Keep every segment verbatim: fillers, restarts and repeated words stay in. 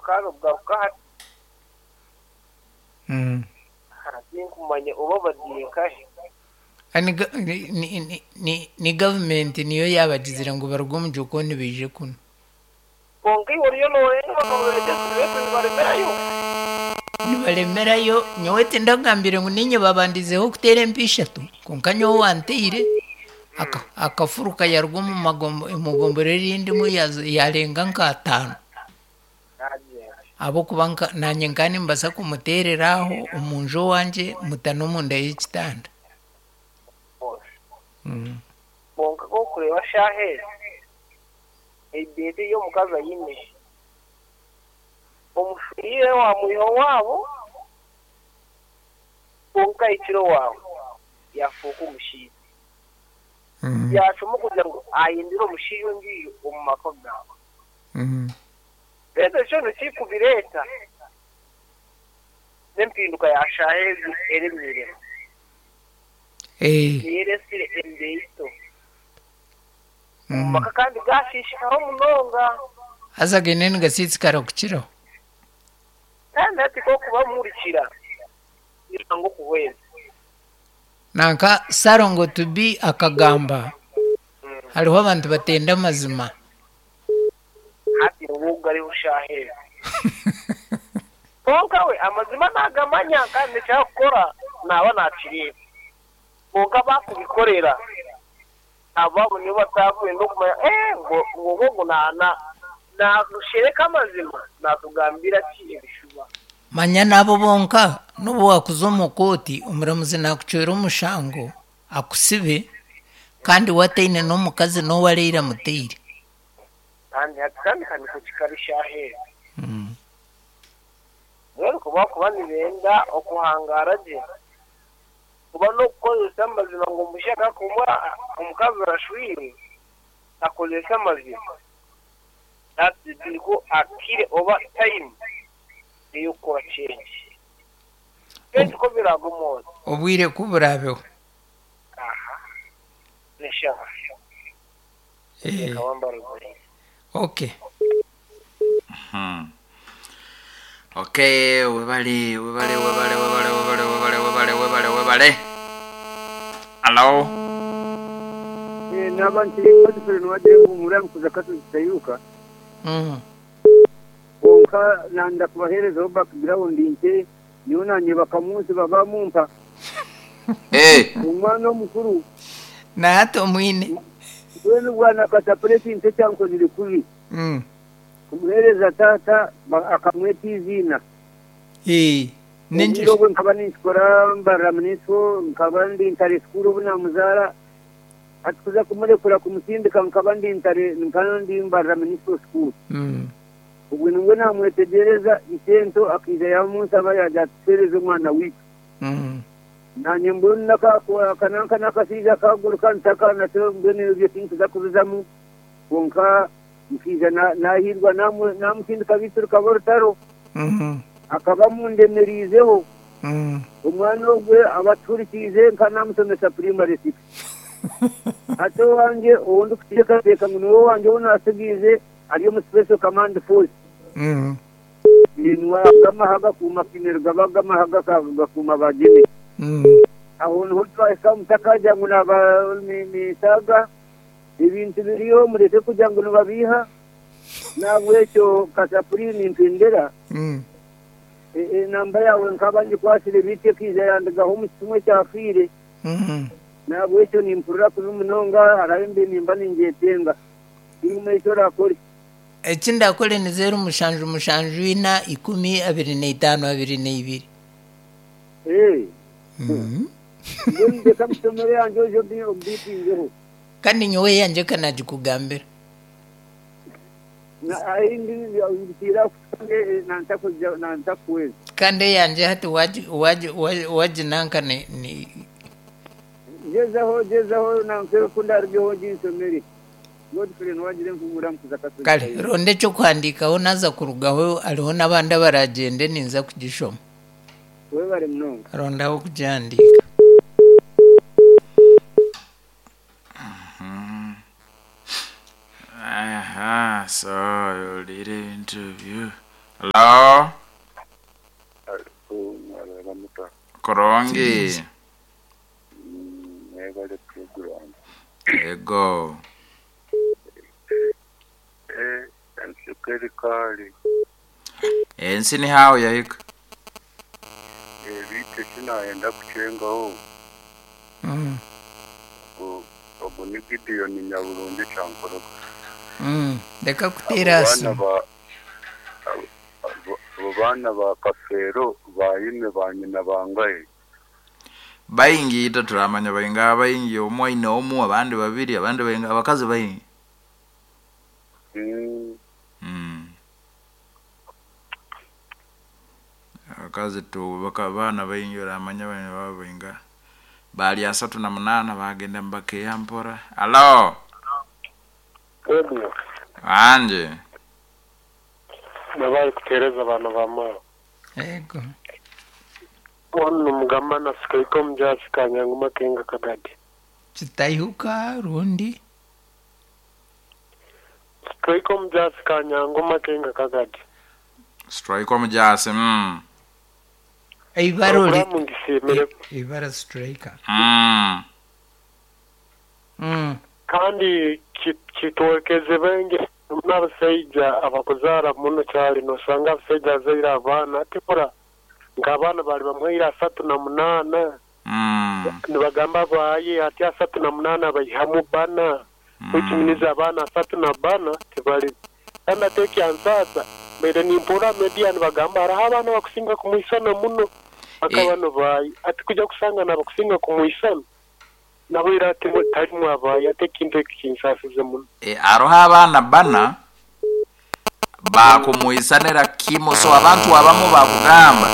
Bakaza kugaruka hati. Mm. Tinkumanya oba bagiye nkahe. Ah, ni ga- ni- ni- ni- ni- ni gavumenti niyo yabagizire ngu baruge omu jokoni baije kunu. Kwonka iwe oriyo noorenga bakababeegyesa beetu nibaremerayo. Nibaremerayo. Nyowe tindagambire ngu ninye babandizeho kuteera empi ishatu, kwonka nyowe wanteire aka- akafuruka yaruga omu magombo- omu gombora erindimu yaza- yarenga nka ataano. Nagyenda. Ahabw'okuba nka- naanye nka nimbaasa kumuteerera aho omunju owangye muta n'omunda y'ekitanda. Mm. Kwonka kokureeba shaaha ezi, ebiiti ey'omukazi aine, omufiire wamwiha owaabo, kwonka ahikire owaabo yafuuka omushaija. Mm. Yacuma kugira ngu ayendere omushaija ondiijo omu maka gaawe. Mm. Reero ekyo nikikubireeta n'empinduka ya shaaha ezi eremiire. Eh. Niyo eresire embeito. Omu Mm. maka kandi gashishikara munonga. Haza gaine nigasitsikara kukiraho. Kandi hati kokubamurikira nanga okuhweza. Nanka Sarongo Tubi akagamba hariho abantu batenda amazima. Hati niwo gariho shaaha ezi. Kwonka we amazima nagamanya kandi ekyakukora naaba nakireeba. Kwonka bakubikorera ababo nibo batakwenda okumanya eh ngo ngo ngo na na nakushereka amazima natugambira ki ebishuba. Manya n'abo bonka n'obu wakuza omu kooti omuramuzi nakucwera omushango akusibe kandi wataine n'omukazi n'owareire amuteire. Kandi hati kandi kaniko kikari shaaha ezi. Mm. Mbwenu kuba kuba nibenda okuhangara gye kuba n'okukozesa amazima ngu omushaka kumwa omukazi arashwire akozesa amazima. Hati niko akire oba time ey'okukora change. Kenshi ko biragomoza. Obwire ku burabeho. Aha. Neshaha. Eh. Kawamba ruguru. Okay. Hmm. Okay, webale, webale, webale, webale, webale, webale, webale, webale, webale. Hello. Naba nkiri Godfrey niwagira ngu muramukuza katuzitayuka. Mm. Konka nanda kubaherezaho background nke niyo nanye bakamunsi babamumpa. Eh. Omwana omukuru Na hati omwine. mbwenu bwana katapuresi nte kyankozire kubi. Mm. Kumuhereza tata akamweta iziina. Eh. Obwire obwe nkaba ninkikora mbarira munisiko nkaba ndi ntare sikuru obu namuzaara. Hati kuza kumurekura kumusindika nkaba ndi ntare nkaba ndi mbarira munisiko sikuru. Mm. Obwe nibwo namwetegereza isento akiija yamunsaba yaja atuhereze omwana witu. Mm. Nanye mbwenu akananka n'akashaija kaguruka ntakana mbwenu ebyo tinkuza kubizamu. Konka nkiija nahirwa namusindika bitu rukaba orutaro. Mm. Akaba mundemeriizeho. Mm. Omwana ogwe abaturikiize nka namusomesa primary six. Ate owange ou ndikuteekateeka ngu niwe wange ou nasigiize ari omu special command force. Mm. Niwe agamaha gakuuma kinero gaba agamaha gakuuma bagyeme. Mm. Aho niho twahika mutakagira ngu naba nisaaga ebintu biriyo mureke kugira ngu nibabiiha. Nahabwekyo kasapuri nimpendera. Mm. Enamba yawe nkaba ngikwasire bitu ekiija yandigaho omu kimwe kyafiire. Mm. Nahabwekyo nimpurira kubi munonga haraho embi nimba ningyetenga. Tinkumanya eki orakore. Eki ndakore ni zeru mushanju mushanju ina ikumi abiri n'eitaano abiri n'eibiri. Eh. Mm. Mbwenu ndeka misomero yangye oije ombiitingeho. Kandi nyowe yangye kanagikugambira. Nantakuweza. Kandi eyangye hati waji waji waji nanka ni ni gezaho gezaho nankere kundarugyeho nginsomere. Godfrey niwagire nkumura mukuza katuzitayo. Kale ronda ekyokuhandiikaho naza kurugaho hariho n'abandi abaragyende ninza kugishoma. Webare munonga. Rondaho kugihandiika. Aha, so you'll read interview. Hello. Kurungi. Mwebale program. Ego. Eh, ensukeri kali. Ensi ni hawo yahika. Eh, bite sinayenda kuchengaho. Mm. Ogu ni Gideon Nyaburungi Kyankorogo. Mm. Reka kuteera Abo asimu. baana ba abo- abo- abo baana ba Kafeero bayime ba nyina bangahe. Baingi ita turamanya bainga baingi omwe aine omu abandi babiri abandi bainga abakazi baingi. Mm, Mm. Abakazi tu baka baana baingi oramanya bana baba bainga. Bali asatu na munana bagenda mbakeya mpora. Hello. Ebyo Anje. mwebale kuteereza abaana ba mawe. Ego. Ono mugamba nasikaiko omujaasi kanyangu makenga kagadi. Kitaihuka rundi. Sikaiko omujaasi kanyangu makenga kagadi. Strike omujasi. Mm. Ibara ori Programu ngisiimire ibara striker. Mm. Mm. kandi ki- kitwekeze benge n'abasaija abakuzaara muno kyali nosanga abasaija azaire abaana ati kora nk'abaana bali bamuhaire asatu na munaana Mm. nibagamba baaye ati asatu na munaana baihamu bana Mm. which abaana asatu na bana tibali kandi ate ekyansaasa mbaire nimpurra media nibagamba hariho abaana bakusinga kumwisana muno aka Eh. bano baaye ati kuja kusanga nabakusinga kumwisana nabo era ati tarimu abaaye ate ekintu eki kinsaasize muno E, aroho abaana bana bakumwisanira kimo so abantu abamu bakugamba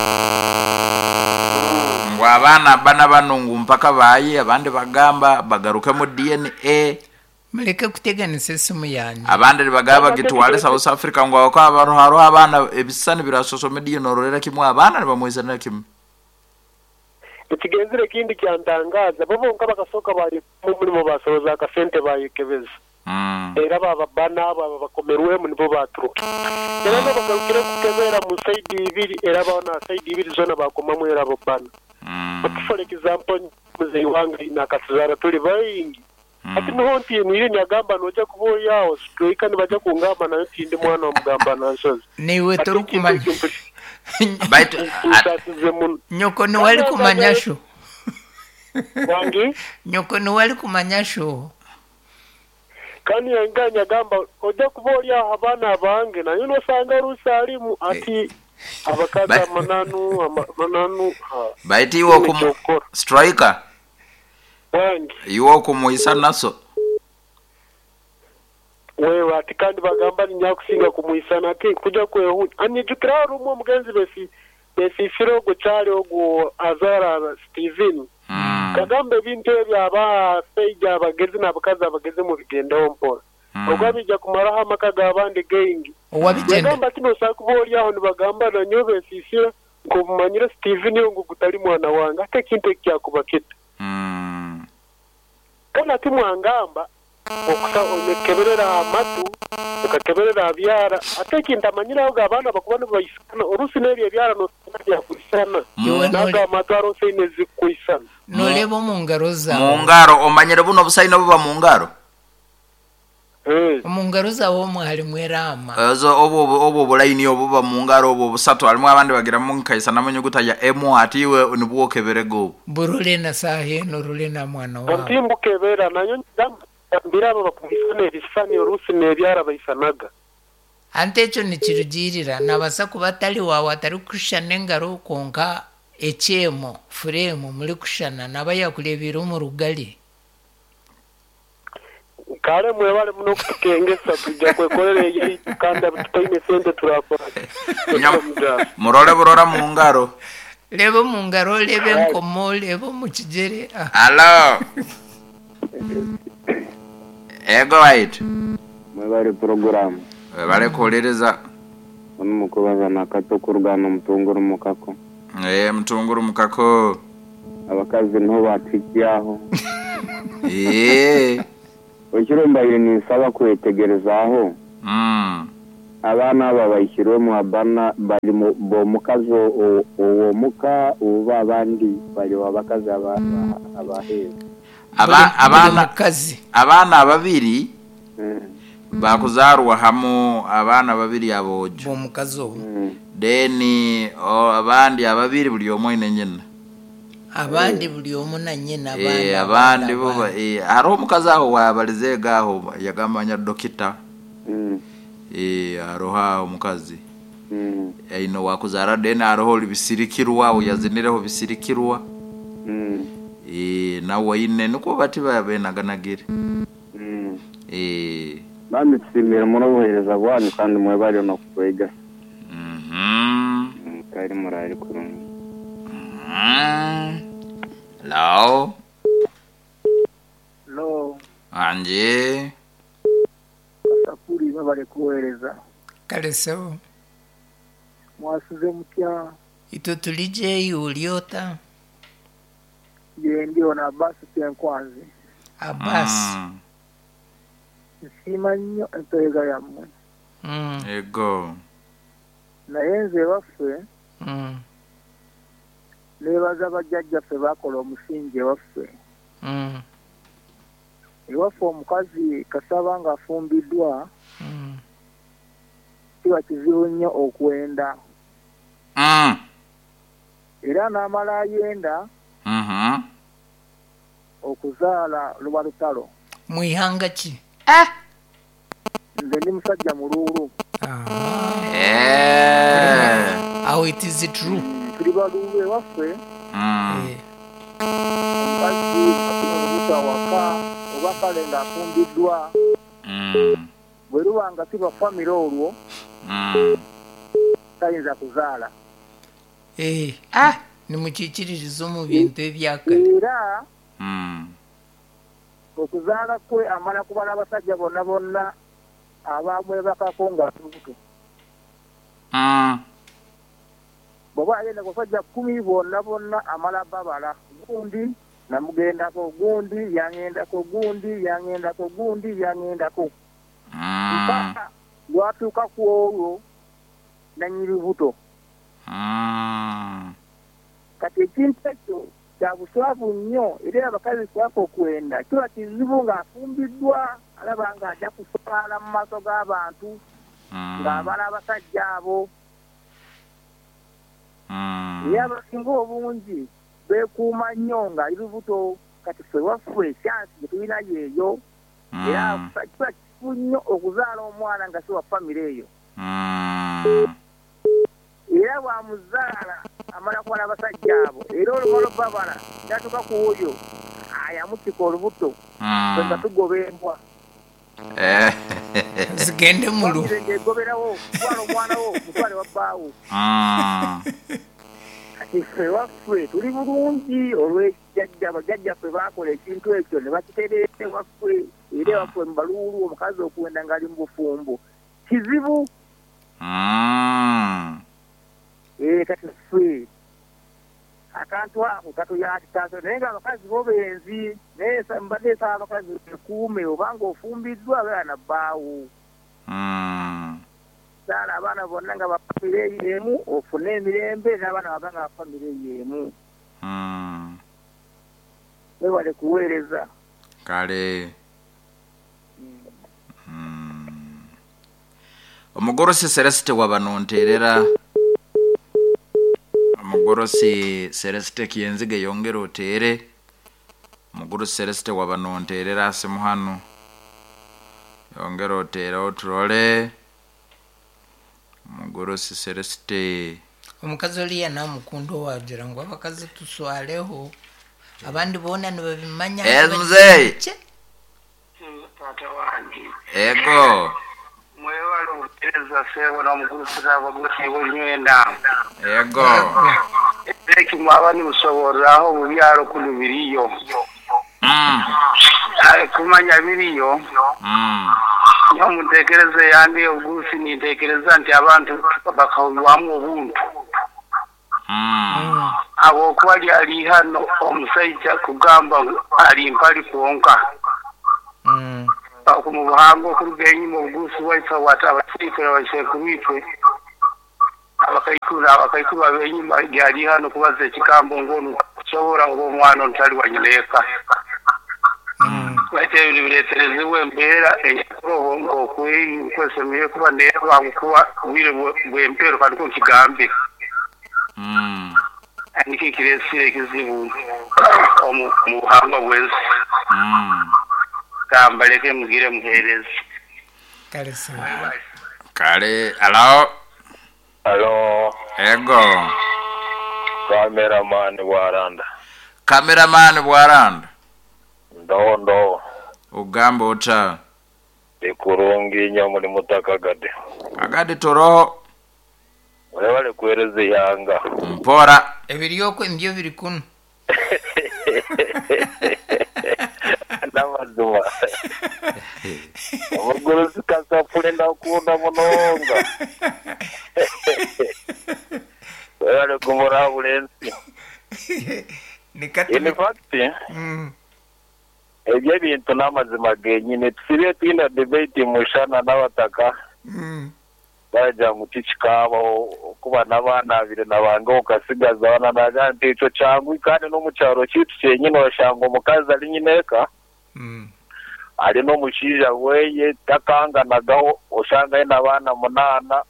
ngu abaana bana bano ngu mpaka baye abandi bagamba bagaruke mu D N A Mureke kuteganisa esimu yanyu. abandi nibagamba gitwale South Africa ngu ako abantu hariho abaana ebisani bira social media nororera kimwe abaana nibamwisanira kimwe. Ekigenzire ekindi kyantangaza bo bonka bakasooka bari mu murimo basoroza akasente bayekebeza Mm. era baba bana abo aba bakomerwemu nibo baturuka era nabagarukire kukebera mu saidi ibiri era bona saidi ibiri zona bakomamu era abo bana. Mm. Ati for example muzeyi wange nakatuzara tuli baingi Mm. ati niho ntiinire nyagamba noja kuba ori aho situika nibaja kungamba nayo tindi mwana wa mugamba nansozi. Niwe Ati torikumanya. ekintu ekyo Baitu at- nsaasize muno. Nyoko niwe ari kumanya sho. Wangi Nyoko niwe ari kumanya sho. kandi yanga nyagamba oja kuba ori aho abaana abange nayo nosanga rusa arimu ati abakazi Ba- amananu ama- amananu ha. baitu iwe okumu Ekyokukora. striker Wangi iwe okumwisa naso. wewe ati kandi bagamba ninyakusinga kumwisana ati kuja kwehunya anijukira rumwe omugenzi besi besifire ogwo kyali ogwo azara Steven Mm. kagamba ebintu ebyo abasaija abagezi n'abakazi abagezi mubigendaho mpora Mm. ogwo abija kumaraho amaka g'abandi gaingi Owabigenda. yagamba ati nosaa kuba ori aho nibagamba nanyowe besisira nk'obumanyire Steven ngu gutali mwana wange ate ekintu eki kyakuba kita Mm. kandi ati mwangamba okusa onekeberera amatu okakeberera abyara ate ekintu amanyiraho abaana bakuba nibaisana orusi n'ebyo ebyara nosanga byakwisana Iwe naga nore- amatu aronse ine zikwisana noreba omu ngaro zawe. Mu ngaro omanyire buno obusaino buba mu ngaro. Eh, Omu ngaro zawe omwe harimu erama. Ezo obwo obwo obulaini obuba mu ngaro obwo busatu harimu abandi bagiramu nkaisanamu enyuguta ya M ati iwe nibwo okeberega obwo. Burore na saha eno orore na mwana wawe. ati mbukebera nayo mbira abo bakuisana ebisani orusi n'ebyara baisanaga Ante ekyo nikirugirira nabasa kuba atari wawe atarikushushana engaro konka ekyemo furemu murikushushana naba yakurebiire omu rugari. kale mwebale muno okutukengesa tujja kwekorera eyaitu kandi tutaine sente turakora Nyam- Murore burora mu ngaro. Reba omu ngaro orebe enkomo orebe omu kigyere. Ah, Hello. Ego wait. Mwebale program. Webale kuwuliriza. Ono mukubaza nakato kurugana omutunguru mukako. Eh mutunguru mukako. Abakazi niho batukyaho. Eh. Ekiro mbaire ninsaba kwetegerezaaho Mm. Abaana aba baihirwemu abana bali mu- b'omukazi o- ow'omuka oba abandi bali abakazi aba- abaheeru. Aba- Buli- buli abaana mukazi abaana babiri Mm. bakuzarwa hamu, abaana babiri abojo b'omukazi obu Mm. then o, abandi ababiri buli omwe aine nyina. Abandi buli omu na nyina. Eh, abaana abandi bo ba- abandi. eh, hariho omukazi aho wabalizeega aho yagamba nya dokita. Mm. Eh, hariho aho omukazi Mm. aine wakuzara, then hariho ori bisirikirwa aho yazinireho bisirikirwa. Mm. Eh, nawe aine nikwo bati babenaganagire. Mm. Eh, Bambi tusiimire muno obuheereza bwanyu kandi mwebale n'okutwega. mhm. Mm, kari murari kurungi. Mm. Hello. Lo. Anje. Kasapuri, babale kuweereza. Kale sebo. Mwasuze mutya? Itwe tuli gye, oli ota? Gye ndi ono Abasi Kyenkwanzi. Abasi. Mm. Nsiima nnyo empeereza yammwe. Mm. Ego. Naye nze ewaffe Mm. neebaza bajjajjaffe baakola omusingi ewaffe. Mm. Ewaffe omukazi kasaba ng'afumbiddwa Mm. kiba kizibu nnyo okwenda. Mm. Era n'amala ayenda Mhm. okuzaala luba lutalo. Mu ihanga ki? Nze ndi musajja muluulu. Ah. Eh. Awo it is true. Tuli baluulu ewaffe. Mm. Eh, Omukazi afuna olubuto awaka oba kale ng'afumbiddwa, Mm. bwe luba nga si lwa famire olwo Mm. tayinza kuzaala. Eh, nimukikiririza omu bintu ebyakare. Era Mm. okuzaala kwe amala kubala abasajja bonna bonna abamwebakako nga lubuto. Mm. Bw'oba agenda ku basajja kkumi bonna bonna amala babala, gundi namugendako, gundi yangendako, gundi yangendako, gundi yangendako, Mm. mpaka lwatuuka ku olwo nannyini lubuto. Mm. Kati ekintu ekyo kya buswavu nnyo, era abakazi kwaka okwenda kiba kizibu ng'afumbiddwa, alaba ng'ajja kuswala mu maaso g'abantu Mm. ng'abala abasajja abo. Mm. Era abasinga obungi beekuuma nnyo ng'ali lubuto. Kati ffe waffe kyansi gye tulina yeeyo, era Mm. kiba kizibu nnyo okuzaala omwana nga si wa famire eyo. Mm. Era bw'amuzaala amala kubala abasajja abo, era olumala babala n'atuuka ku oyo ayamutika olubuto, ffe nga Mm. tugoba embwa. Eh. Zigende mulu. Famire ng'egoberawo, twala omwana wo mutwale wa bbaawo. Mm. Kati ffe waffe tuli bulungi olw'ejjajja, bajjajjaffe baakola ekintu ekyo ne bakitereeza ewaffe. Era ewaffe mu baluulu omukazi okwenda ng'ali mu bufumbo kizibu. Mm. Eh, kati ffe akantu ako katuyatikaso, naye nga abakazi bo benzi, naye sa- mbadde nsaba abakazi bekuume, obanga ofumbiddwa beera na bbaawo. Mm. Zaala abaana bonna nga bafamire emu, ofune emirembe n'abaana baba nga bafamire emu. Mm. Webale kuweereza. Kale. Mm. Omugorosi Celeste wabanonterera, omugorosi Celeste Kyenzige yongera oteere, omugorosi Celeste wabanonterera asimu hano, yongera oteere oturole omugorosi Celeste. Omukazi oliya namukunda owagira ngu abakazi tuswaleho, abandi boona nibabimanya. Eh, muzeeyi. Kye. Taata wange. Ego. Mwebale obuteereza seebo n'omugurusiza abagurusi bonywenda. Ego. Eki mwaba nimusoboreraho mu byalo kuno biriyo. Mm. Aye kumanya biriyo. Mm. Niyo munteekereza yange obugurusi ninteekereza nti abantu bakahurwamu obuntu. Mm. Mm. Habwokuba lyali hano omusajja kugamba ngu ali mpali kwonka. Mm. Okumubona. Obuhanga okuruga enyuma obuguusi bwaife abaseikuru abasekuru itwe abakaikuru abakaikuru ab'enyuma gyali hano kubaza ekigambo ng'ono kusobora oba omwana ontali wa nyina eka. Baitu ebintu bireeterezibwa embeera enyakuroho nk'okwesemire kuba neeba kuba obwire bw'empero kandi ko nkigambe. Mm. Nikyo kireesire ekizibu omu mu buhangwa bw'ensi. Mm. Kambaleke mugire muheereza. Kale sawa. Kale, alo. Alo, Ego. cameraman Bwaranda. Cameraman Bwaranda. Ndo ndo Ugamba ota. Ikurungi nnyo muri mutakagade. Agade toro Webale kuhereza ihanga. mpora. Ebiryoko nibyo biri kuno. N'amazima. Omugurusi kasafule ndakunda munonga. Webale kumurabura ensi. Nikati. In fact, Mm. ebyo ebintu n'amazima genyine tusibe twina debate mushana n'abataka. Mm. Baragira ngu tikikabaho kuba n'abaana abiri nabange okasigaza abana nagira nti ekyo kyangu kandi n'omu kyaro kyaitu kyenyine oshanga omukazi ari nyina eka Mm. ari n'omushaija weye takanganagaho oshanga aine abaana munaana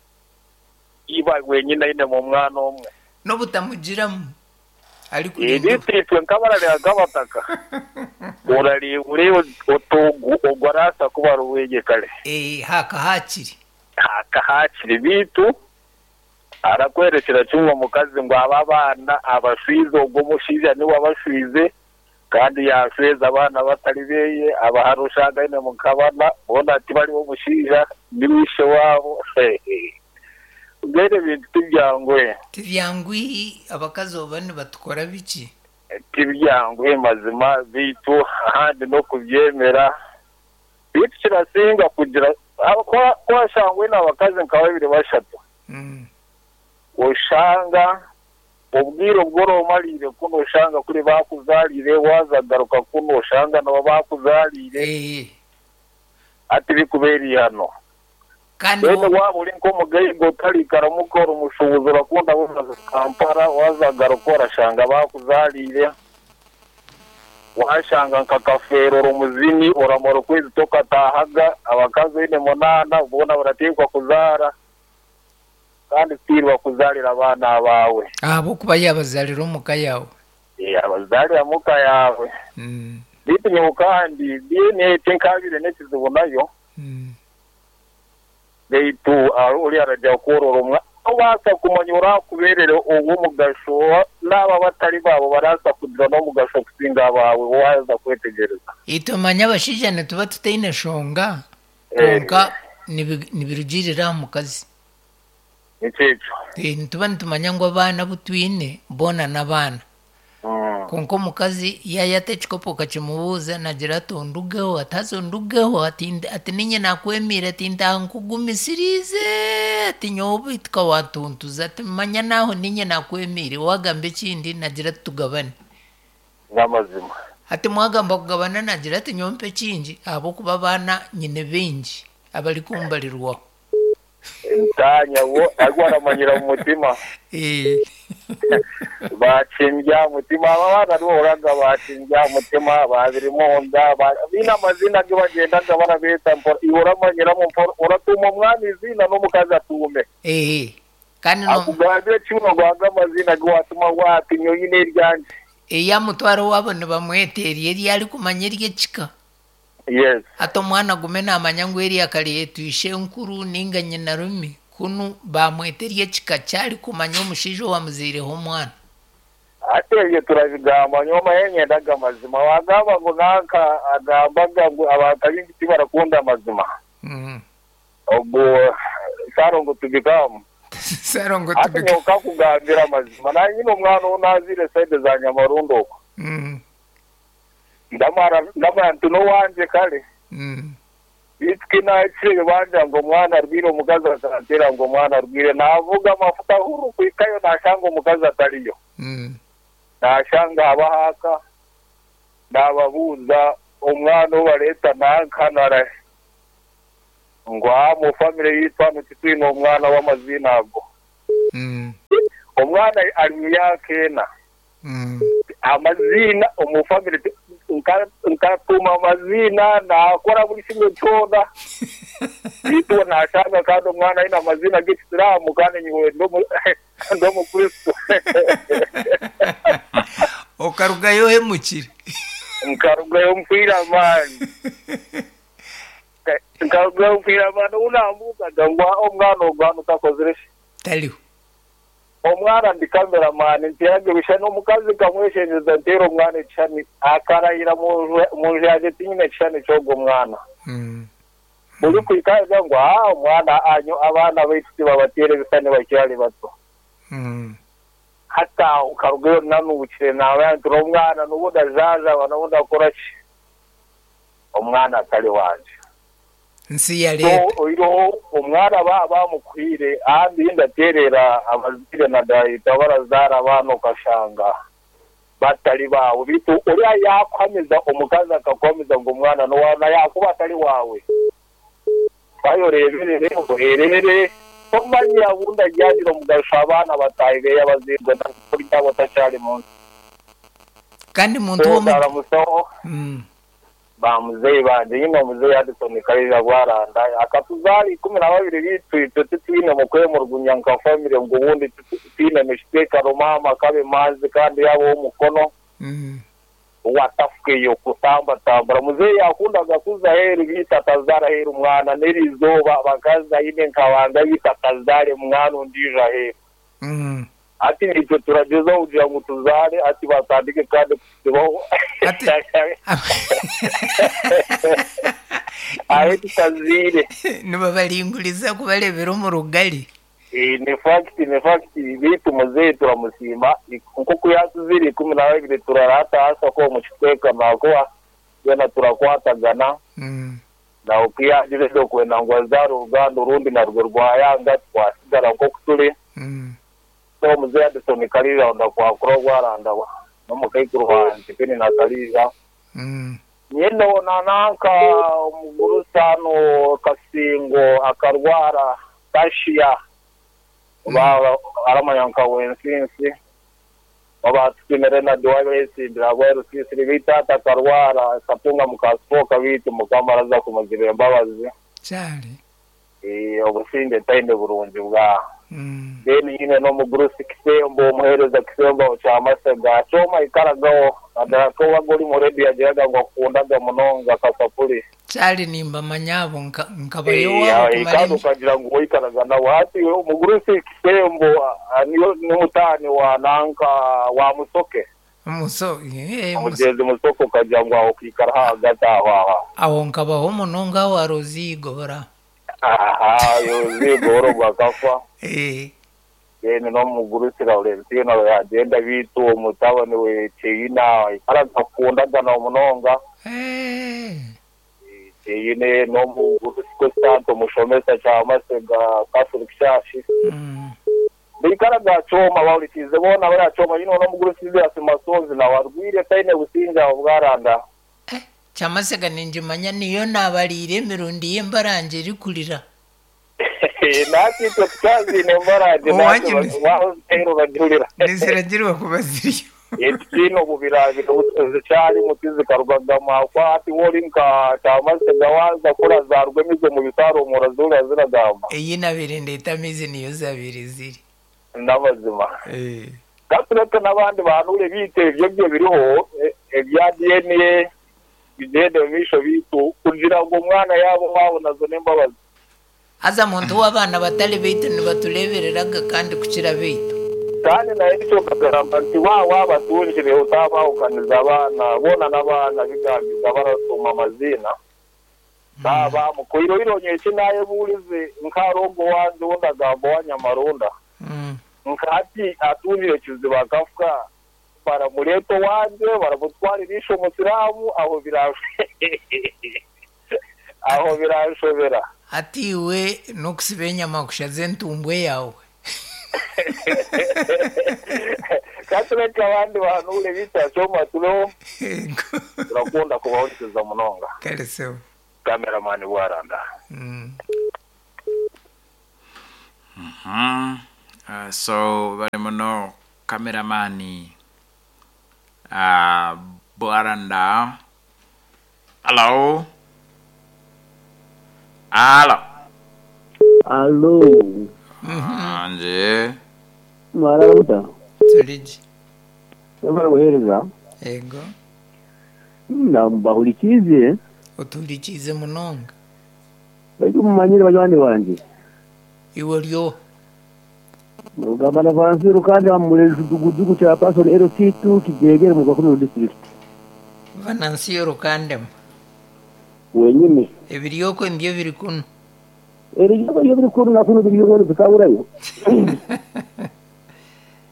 iba wenyine ainemu omwana omwe. N'obutamugiramu ari kurinda. Eri itwe nk'abarareba abataka orareba otugu ogwo arasa kuba ari oweye kare. Eh, haka hakiri. Hakahakiri bitu arakwerekera kimwe omukazi ngu aba abaana abashwize ogwo omushaija niwe abashwize kandi yashweza abaana batari beye abahara oshanga aine mukabana boona ati bariho omushaija niwe ishe waabo. Mbwenu ebintu tibyanguhe. Tibyanguhi abakazi oba nibatukora biki? Tibyanguhe mazima bitu ahandi n'okubyemera bitu kirasinga kugira kwashangwe n'abakazi nka babiri bashatu. Mm. Oshanga obwire obworomarire kuno oshanga kuri bakuzarire wazagaruka kuno oshanga nabo bakuzarire. Eh. Ati bikuberi hano. Kandi wene waba uri nk'omugaiga otarikara mukora omushubuzi orakunda buzaza Kampala wazagaruka orashanga bakuzarire. Washanga nka kafeero oromuzini oramara okwezi tokatahaga abakazi oine munaana boona barateekwa kuzaara kandi tiirwa kuzarira abaana baawe. Ahabw'okuba yabazarira omuka yaawe. Eh, abazarira muka yaawe. Mm. Bitu nyowe kandi D N A tinkabire n'ekizibu nayo. Mm. Beitu ori arajya kworora omwana obaasa kumanya orakuberere ow'omugasho n'aba batari baabo baraasa kugira n'omugasho kusinga abaawe waaza kwetegereza. Itwe manya abashaija nituba tutaine shonga konka nibirugirira aha mukazi. Nikyo ekyo. Eh, nituba nitumanya ngu abaana abu twine boona n'abaana. Konka omukazi yayata ekikopo okakimubuuza nagira ati ondugeho ati haza ondugeho ati ati ninye nakwemiire ati ntankugumisiriize ati nyowe bituka watuntuza ati manya naho ninye nakwemiire wagamba ekindi nagira ati tugabane. N'amazima. Ati mwagamba kugabana nagira ati nyowe mpa ekingi ahabw'okuba abaana nyine baingi abarikumbarirwaho. Ntanya wo ariko aramanyira mu mutima. Eh. Bakimbya mutima abana nibo bakimbya mutima babiri munda bina amazina ge bagendaga barabeta uramanyira mu uratuma umwami izina n'omukazi atume. Eh. Kandi no akugambye kimwe gwanga amazina ge watuma wati nyoyine eryanje. Eya mutwaro wabo nibamweteriye eri ari kumanya eryekika. Yes. Ati omwana gume namanya ngu eri akari ishe nkuru ninga nyina rumi kunu bamweteriye ekika kyari kumanya omushaija owamuziireho omwana. Ate ebyo turabigamba nyoma yenyendaga amazima wagamba ngu nanka agambaga ngu abantu abingi tibarakunda amazima. Mm. Ogwo sarongo tubikamu. Sarongo Ate tubikamu. nyowe kakugambira amazima naye nyine omwana ou naziire saide za Nyamarundo okwo. Mm. Ndamara ndamara nti n'owangye kare. Mm. Bityo nakire banja ngo omwana arwire omukazi atantera ngo omwana arwire navuga amafuta huru kwikayo nashanga omukazi atariyo. Mm. Nashanga abahaka nababuuza omwana obareta nanka nara Ngo mu family yitwa ntitwine omwana w'amazina ago. Mm. Omwana ari mu myaka ena. Mm. Amazina omu family nkatuma amazina nakora buri kimwe cyona. Yitwa nashaka kandi omwana aine amazina g'Ekisilamu kandi nyiwe ndo mukristo. Okarugayo hemukire. Nkarugayo mpwira amani. Nkarugayo mpwira amani unambukaga ngo omwana ogwana utakozire. Taliho. Omwana ndi cameraman ntiyage bishana omukazi kamweshenjeza ntera omwana ekishani akarayira mu nju tinyine ekishani ky'ogwo mwana. Mm. Buri kwikaza ngo ah omwana anyo abaana baitu tibabateera ebisani bakyali bato. Mm. Hata ukarugayo nanubukire nawe nti omwana n'ubundi azaza n'ubundi akora ki omwana atari wanje. Nsi ya leta. So omwana ba bamukwire andi ndaterera abazire na dayita barazara abana ukashanga batari bawe bitu uriya yakwamiza omukazi akakwamiza ngo omwana n'owana yakuba atari wawe bayoreberere oherere omanya bunda ajyagira omugasho abana batahibe y'abazirwe kurya batacyari munsi kandi muntu wo mu mm. Ba muzeyi banje nyine muzeyi Addison Karija Rwaranda akatuzali ikumi na babiri bitwitwe tutwine mu kwemurgunya nka family ngo ubundi tutwine mishiteka mama kabe manzi kandi yabo umukono mm. watafukeyo kutamba tambara muzeyi yakundaga kuza heri bita tazara heri umwana nerizoba bakaza ine nkabanga bita tazare mwana undija heri mm. Ati nitwe turageza kugira ngo tuzare ati batandike kandi kusibaho ati ahe tutazire nibabalinguriza kubarebera omu rugali. Eh ni fact ni fact bitu muzeyi turamusima nkuko yatuzire ikumi na babiri turarata hasa ko mu kitweka nakuwa yena turakwatagana mm. na ukiyagire kwenda ngo azare uruganda urundi narwo rwayanga twasigara nko kuturi mm. So muzeyi Addison Karija ndakwakura Rwaranda no mukayikuru wanje pene na Karija mm. nyene nananka umugurusano Kasingo akarwara kashiya mm. Ba aramanyanka wensinsi babatwimere na duwabe sindira bwerusisiri bitata akarwara katunga mukaspoka bitu mukamaraza kumugirira imbabazi cyane eh obusinde tainde burungi bwa Mm. Then nyine no mugurusi Kisembo omuhereza Kisembo kyamasega kyoma ikaragaho naddala wagoli mu redi yagiraga ngo akundaga munonga kasapuli cyari nimba manyabo nkabayo wabo kumara ukagira ngo wikaraga nawe hati umugurusi Kisembo niyo n'umutani wa nanka wa musoke muso eh mugezi musoko ukagira ngo aho kwikara hagati aho aho aho nkabaho munonga wa rozigobora aha yozigoro bakafa eh yene no mugurusira Valentino yagenda bitu umutabani we Cheyina aragakunda na munonga eh Cheyine no mugurusiko santo mushomesa cha masega Catholic Church mm. Bikaraga choma bawulikize bona bari choma yino no mugurusize asimasozi na warwire taine businja ubwaranda eh chamasega ninjimanya niyo nabalire emirundi yembaranje rikulira nakitwe tukazi nembaranje nakiro bajulira nisiragirwa kubaziriyo etino bubirabiro cyari mutizi karugagama kwa ati wori nka chamasega waza kora zarwemize mu bitaro murazura ziragamba iyi nabirinde itamizi niyo zabiri ziri n'abazima eh gatureke n'abandi bantu ure bite ibyo byo biriho ebya D N A bigende misho bitu kugira ngo umwana yabo wabo nazo nembabazi aza muntu w'abana batari bitu nibaturebereraga kandi kukira bitu kandi naye icyo kagaramba nti wa wabatunjire utabahukaniza abana bona n'abana bigambiza barasoma amazina baba mukoiro ironye kinaye bulize nkarongo wanze wondagambo wa Nyamarunda nkati atunjire kiziba kafuka baramuleto wanje baramutwaririsha umusilamu aho birashe aho birashobera atiwe nokusiba enyama kushaze entumbwe yawe katureka abandi bantu ule bita choma tulo turakunda kubahurikiza munonga kale sewo. Cameraman Bwaranda. Mm. Mhm. Uh, so bali muno cameraman uh, Bwaranda. Hello. Hello. Alo, Anje. mwarabuta. Tuliji. Barabuhereza. Ego. Ndambahurikize. Otulikize munonga. Baitu mumanyire banywani banje. Iwe ryo. Mugamba na Vansiru kandi amurezi dugudugu cya Pastor L C two kijegere mu Gakono district. Vanansiyo rukandem. Wenyine. Ebiryoko ndyo biri kuno. Ebiryoko byo biri kuno na kuno biri kuno bikaburayo.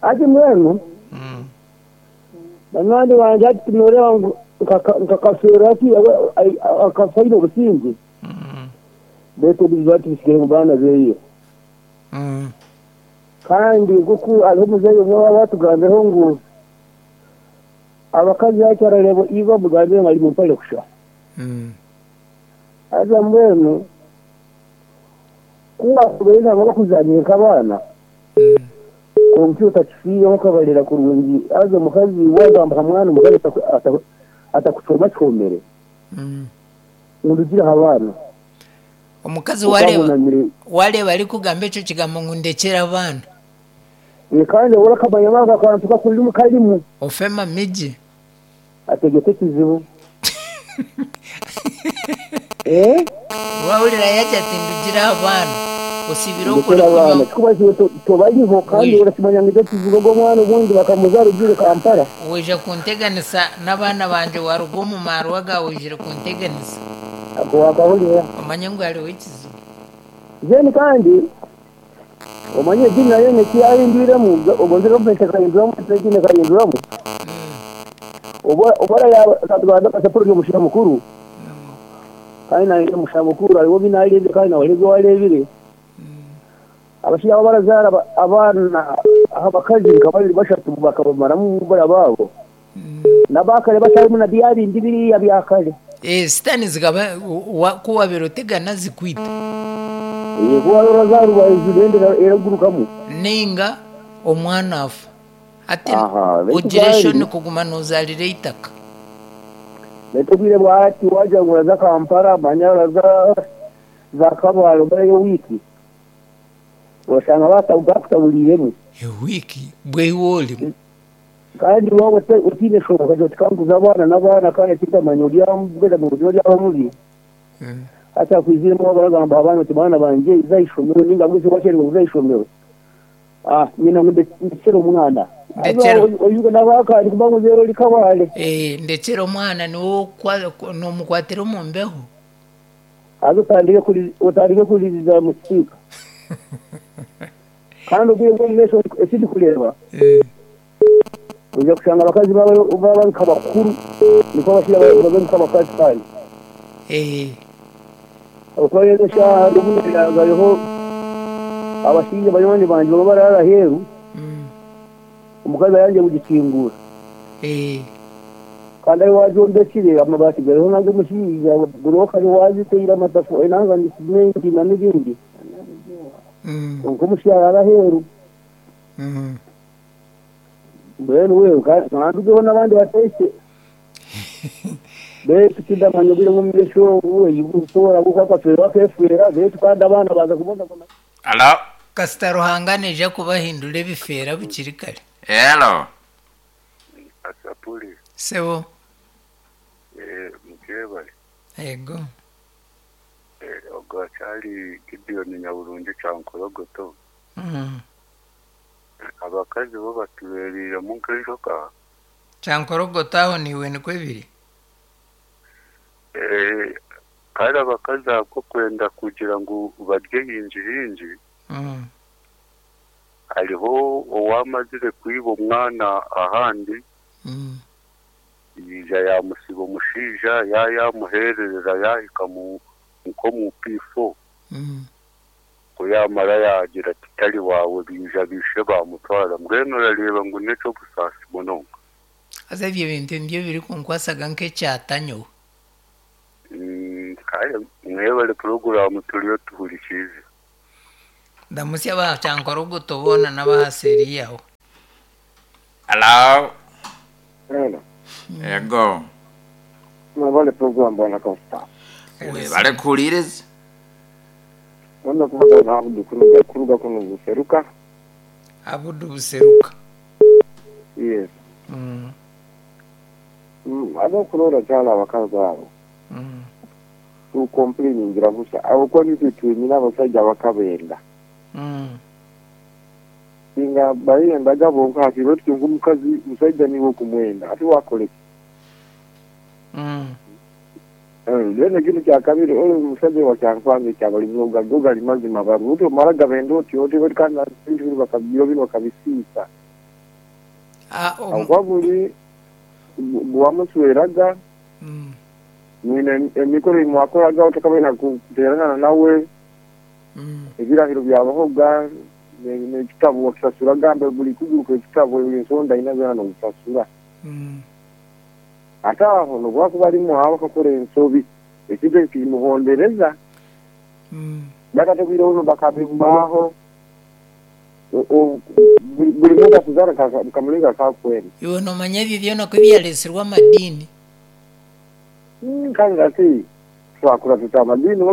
Ati mwenu. Mm. Banywani banje ati noreba nkakasura ati akafaino obusinge. Mm. Beto bizati bisigere mu bana beyo. Mm. Kandi kuko ariho muzeyi umwe baba batugambeho ngo abakazi bacyarareba iba mugambire ngo ari mu mpare kusha. Mm. Aza mbwenu kuba kubera ngo bakuzanyika abana. Kompyuta kifiyeho kabarera kurungi aza mukazi wagamba mwana mukazi atakucoma cyomere. Mm. Ndugira abana. Omukazi wareba wareba ari kugamba eco kigambo ngo ndekera abana. Ni kandi urakamanya banga kantu kakuri mu karimu. Ofema miji. Ategete kizibu. Eh? Wahurira yaje ati ndugira abana. Osibira okuri abana. Kuba tobariho kandi urasimanya ngo kizibu go mwana ubundi bakamuzara ugire Kampala. Weje kunteganisa n'abana banje warugo mu marwa gawe ujire kunteganisa. Ako wakahurira. Omanye ngo ari wikizibu. Jeni kandi omanye dini nayo nekiyahindwiremu ogonzire ompete kahinduramu edini kahinduramu. Obora ya katuganda kasaporo y'omushaija mukuru. Kandi naye omushaija mukuru ariwo binarebye kandi nawe aribyo warebire. Abashaija abo barazaara abaana abakazi nka babiri bashatu bakabamaramu bara babo. N'abakare batarimu na byabindi biriya byakare. Eh, sitani zikaba kuwabera otegana zikwita. Yego warazaruba izindera eragurukamu. Ninga omwana afa. Ati ugire shoni kuguma nozalire itaka. Netubwire bwati waja nguraza Kampala manya za za Kabalo bari wiki. Washanga batabugakutabuliremu. Wiki bwe woli. Kandi wowe utine shoka kajo tikanguza abana n'abana kandi kitamanya uryambwira mu buryo ry'abamubi. Hata kwizirimo baragamba abana ati bana banje izayishomero ninga mwese wakerwa uzayishomero. Ah nyina ngo ndekere umwana. Oyuga nabakari kubango zero likabale. Eh ndekere umwana niwo no mukwatira mu mbeho. Azo tandike kuri utandike kuriza musika. Kandi ugiye ngo mwese esidi kureba. Eh uja kushanga abakazi baba baba nkabakuru niko bashira babe nkabakazi kandi. Eh uko rero sha ruguriho abashinje banyoni banje baba barara heru. Umukazi yanje kugikingura. Eh kandi ari waje ndekire amabati gariho nange mushinja guroka ari waje teyira amatafu enanga ndi simenti na n'ibindi. Mm. Uko mushyara heru. Mm. Mbwenu wewe kandi ugeho n'abandi bateshe. Betu kidamanya bile mu misho we yushobora gukaka fera kefera betu kandi abana baza kubona. Hello. Kasita Ruhangane je kubahindura ebifera bukiri kare. Hello. Asapuli. Sebo. Eh mukebale. Ego. Eh ogachali Gideon Nyaburungi cyankorogoto. Mm. Abakazi bo batuberira mu nkenjoka. Cyankorogoto aho niwe niko ebiri. Eh kandi abakazi ako kwenda kugira ngo barye hinji hinji. Mm. Hariho owamazire kwiba umwana ahandi. Mm. Yija yamusiba omushaija yayamuhererera yahika mu nko mu P four. Mm. Ko yamara yagira ati tari wawe bija bishe bamutwara mbwenu urareba ngo neco busasi munonga. Aza ibyo bintu ndyo biri kunkwasaga nk'ecyatanyo. Mm, Kale mwebale puroguramu turiyo tuhurikize. Ndamusya bachankorogoto bona n'abahaseri yaho. Hello. Hello. Ego. Mwebale program bwana Costa. Webale kuhuliriza. Wanda kubaza na Abudu kuruga kuruga kuno buseruka. Abudu buseruka. Yes. Mm. Mm, abo kurora cyane abakazi abo. Mm. Tu complaining ngira busa. Abo kwa nitu twimina abasajja bakabenda. Mm. Inga bayenda gabo nkati bati ngumukazi musajja niwe kumwenda ati wakole. Mm. Eh, lene kintu kya kabiri ole musajja wa kyankwanze kyabali muga goga limazima baruto mara gabendo oti oti bati kandi bintu bakabyo bino bakabisiisa. Ah, um, Kwa buli bwamusweraga mm. mwine emikoro imwakoraga otakabena kuterana nawe Mm. ebirahiro byabahoga n'ekitabo wakisasura gambe buli kuguruka ekitabo buli nsonda inagana n'okusasura. Mm. Ate aho nobwakuba ali muhawe akakora ensobi ekintu ekyo kimuhondereza. Mm. Bakatebireho bakabigmaho buli muntu akuzara kamulinga kakwenda. Iwe nomanya ebyo byona ko byalesirwe amadini. Kandi ati twakura tuta amadini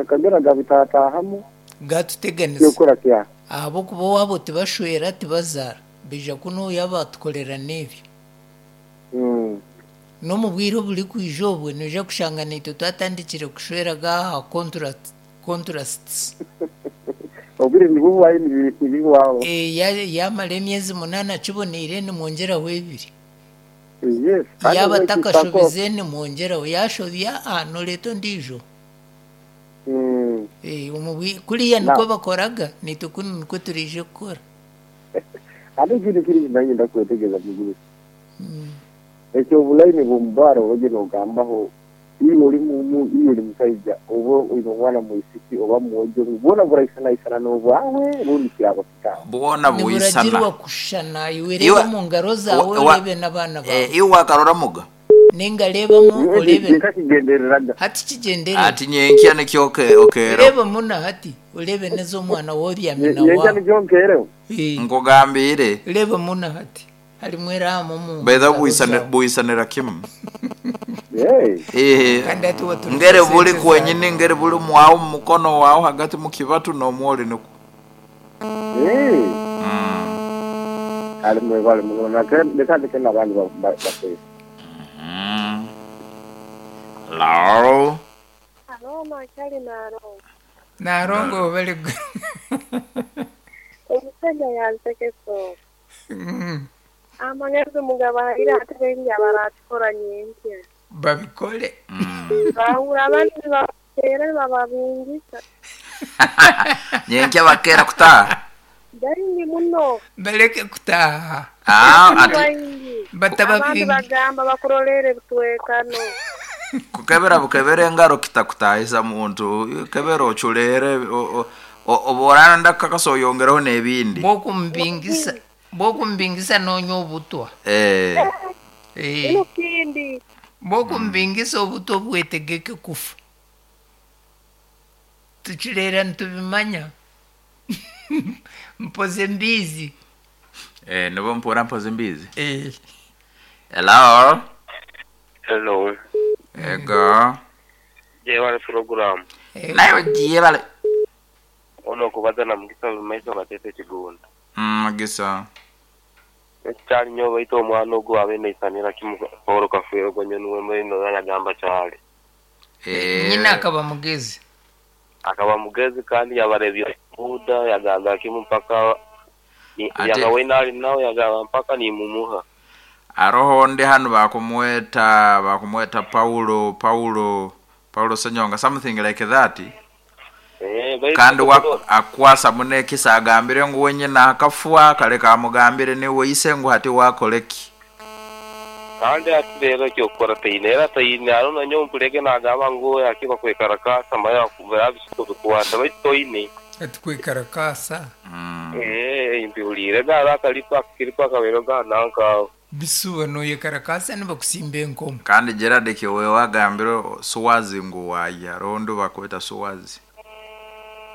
kagera gabitatahamu gatuteganisa yokora kya ahabwokuba owabo tibashwera tibazara bija kuno yabatukorera n'ebyo. Mm. N'omu bwire oburi kwija obwe noija kushanga naitwe twatandikire kushweraga aha contract contrasts. Obwire nibubwayo nibibwaho. Eh, ya- yamara emyezi munana kiboneire nimwongyeraho ebiri. Yes. Yaba takashobize nimwongyeraho yashobya ah, noreeta ondiijo. Mm. Eh, omu bwi- kuriya Na- nikwo bakoraga naitwe kunu nikwo turiije kukora. Ate ekintu kiri nanye ndakwetegereza muguru. Mm. Ekyo obulaini bw'omubaara oba nogambaho iwe oli mumu iwe oli musaija oba oyine omwana mwisiki oba mwojo bwona buraisanaisana n'obwawe rundi kiraba kitawe. Bwona buisana. Niburagirwa kushushana iwe Iwe- reba mu ngaro zawe wa- wa- orebe n'abaana bawe. Eh, iwe wakarora muga. Ningarebamu orebe nkakigendereraga. Hati kigenderera. Ati nyenkya nikyo oke okero. Reba muna hati urebe neza omwana woryamye na nyenkya wawe. nikyo nkereho. Eh, Nkugambire. reba muna hati harimu eramu mu Baitha ngaro buisane zawe. buisanira kimu. Hey. Eh. Kandi ati waturuka Ngere buli sente kwenyini ngere buli mwawo mu mukono wawo hagati mu kibatu n'omwoli nikwo. Hey. Mm. Ali mwebale muno leka ndeke n'abandi bakwesa. Mm. Hello. Alo, makyali Narongo. Narongo bali Omusajja yansekesa. Mm. Amagezi mugabahire ate baingi abarakikora nyenkya. Babikole. Bahura abandi nibabateera nibababingisa. Nyenkya bakera kutaha. Baingi muno. Baleke kutaha. Ah, ati Baingi. Abandi Batababingi. bagamba bakurolere bitwekano. Kukebera bukebera engaro kitakutahisa muntu kebera ochulere oborana ndakakasa oyongereho n'ebindi. Bwokumbingisa bwokumbingisa nonya obutwa. Eh. Eh. Ino kindi. Bwokumbingisa obutwa bwetegeke kufa. Tukirera nitubimanya. Mpoze mbizi. Eh, nibo mpura mpoze mbizi. Eh. Hello. Hello. Ego. Jewale program. Eh. Nayo jebale. Ono kubaza na mugisa maiso gatete kigunda. Mm, mugisa. Ekyali nnyo baita omwana ogwo abe neisanira kimu Paul Kafeero gwe nuwe mweno yanagamba kyali. Eh. Nyina akaba mugezi. Akaba mugezi kandi yabarebye Buda yagamba kimu mpaka ni- Ate- yagawena ali nawe yagamba mpaka nimumuha. Aroho ndi hano bakumweta bakumweta Paulo Paulo Paulo Senyonga something like that. Eh, baitu Kandi wa akwasa munekisa agambire ngu wenyina akafwa kale kamugambire niwe ise ngu hati wakoleki. Kandi ati rero ekyokukora teine era teine aro nanyo mpurege nagamba ngu akiba kwekarakasa maya kubera bisuko bikwata baitu toine. Ati kwekarakasa. Mm. Eh, mbihuliire gara akalipa akiripa akabero ga nanka. Bisuba noyekarakasa nibakusimba enkomo. Kandi Gerard kiwe wagambire Swazi ngu waya rondo bakweta Swazi.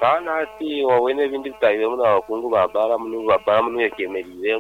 Kandi hati wabona ebindi bitahiremu n'abakungu ba Baramu n'ubu ba Baramu niyo kyemereiremu.